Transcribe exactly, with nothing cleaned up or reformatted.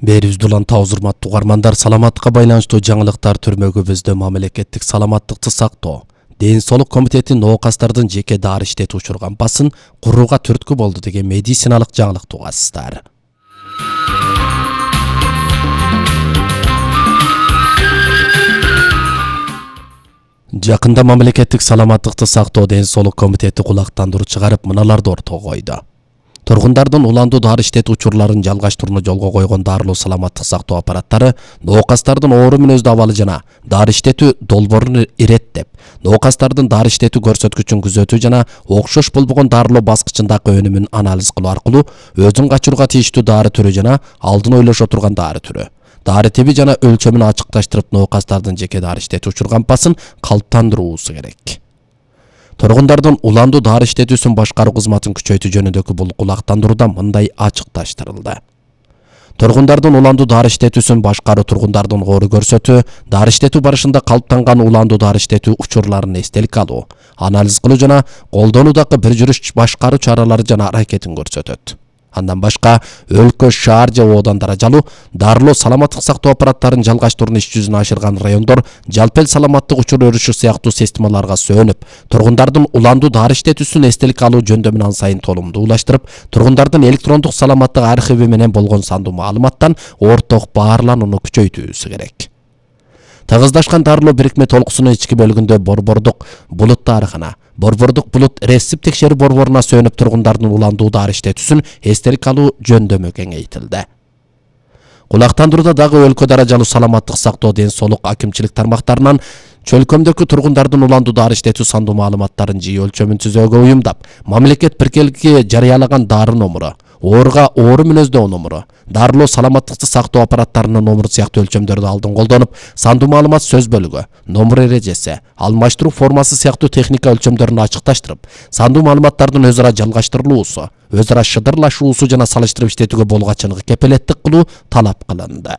Берүүбүздү улан табыз урматтуу угармандар, саламаттыкка байланыштуу жаңылыктар түрмөгүбүздө мамлекеттик саламаттыкты сактоо, ден соолук комитети ноокастардын жеке дары иштетип учурган басын курууга түрткү болду деген медициналык жаңылыкты угасыздар. Жакында мамлекеттик саламаттыкты сактоо ден соолук комитети кулактандыруу чыгарып, мыналарды ортого койду. Тургундардын уландуу дары иштетүү учурларын жалгаштырууну жолго койгон дарылуу саламаттык сактоо аппараттары ноокастардын оору мүнөздүү абалы жана дары иштетүү долбоорун иреттеп, ноокастардын дары иштетүү көрсөткүчүн күзөтүү жана окшош болбогон дарылоо баскычындагы өнүмүн анализ кылуу аркылуу өзүн качырууга тийиштүү дары түрү жана алдын ойлошо турган дары түрү, дары тиби жана өлчөмүн ачыкташтырып, ноокастардын жеке дары иштетип учурган басын калыптандыруусу керек. Тургундардын уландуу дары иштетүүсүн башкаруу кызматын күчөйтүү жөнүндөгү бул кулактандырууда мындай ачыкташтырылды. Тургундардын уландуу дары иштетүүсүн башкаруу тургундардын оору көрсөтүү, дары иштетүү барышында калыптанган уландуу дары иштетүү учурларын эстеликке алуу, анализ кылуу жана колдонуудагы бир жүрүш башкаруу чаралары жана аракетин көрсөтөт. Андан башка өлкө, шаар же оодан даражалуу дарылоо саламаттык сактоо аппараттарын жалгаштырууну иш жүзүнө ашырган райондор жалпы эл саламаттык учур өрүшү сыяктуу системаларга сөөнүп, тургундардын уландуу дары иштетүүсүн эстеликке алуу жөндөмүн ан сайын толумдуулаштырып, тургундардын электрондук саламаттык архиви менен болгон сандуу маалыматтан орток баарланууну күчөйтүүсү керек. Тыгыздашкан дарылоо бирикме толкусунун ички бөлүгүндө борбордук булут дарыкана, борбордук булут рецепт текшерүү борборуна сөөнүп, тургундардын уландуу дары иштетүүсүн эстеликке алуу жөндөмү кеңейтилди. Кулактандырууда дагы өлкө даражалуу саламаттык сактоо, ден соолук акимчилик тармактарынан чөлкөмдөгү тургундардын уландуу дары иштетүү сандуу маалыматтарын жii өлчөмүн түзөөгө уюмдап, мамлекет биркеликке жарыялаган дары номуру, ооруга оору мүнөздөө номуру, дарылоо саламаттыкты сактоо аппараттарынын номуру сыяктуу өлчөмдөрдү алдын колдонуп, сандуу маалымат сөз бөлүгү, номур эрежеси, алмаштыруу формасы сыяктуу техника өлчөмдөрүн ачыкташтырып, сандуу маалыматтардын өз ара жалгаштырылуусу, өз ара шыдырлашуусу жана салыштырып иштетүүгө болгачыныгы кепилеттик кылуу талап кылынды.